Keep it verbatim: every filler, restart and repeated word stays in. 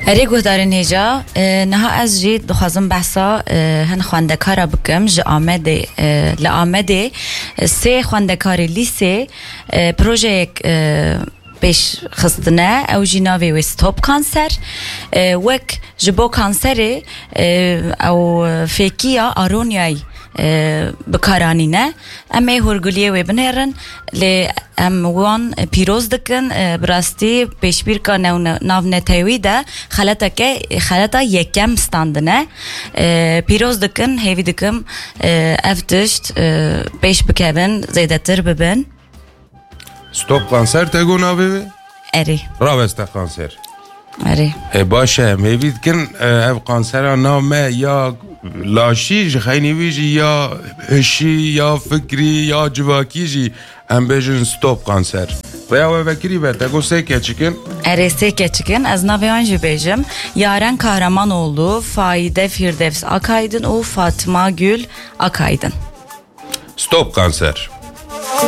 Erê guhdarên hêja, e, niha ez jî dixwazim behsa, e, hin xwendekara bikim ji Amedê, e, li Amedê, e, sê xwendekarê lîsê, e, projeyek, e, pêş xistine, ew jî navê wê Stop Kanser. E, wek ji bo kanserê, e, ew fêkiya Aronyayê, e, bi kar anîne. Em ê hûrguliyê wê binêrin, lê em wan pîroz dikin. E, bi rastî pêşbîrka new-, navnetewî de xeleteke, xeleta yekem standine. E, pîroz dikin, hêvî dikim, e, ev tişt, e, pêş bikevin, zêdetir bibin. Stop Kanser te got navê wê? Erê. Raweste Kanser. Erê. E, baş e, em hêvî dikin, e, ev kansera na me ya laşî, ji xeynî wî jî ya hişî, ya fikrî, ya civakî jî em bêjin Stop Kanser. Rêya we vekirî be, te got sê keçik in? Erê, sê keçik in, ez navê wan jî bêjim. Yaren Kahramanoğlu, Faide Firdevs Akaydın û Fatma Gül Akaydın. Stop Kanser.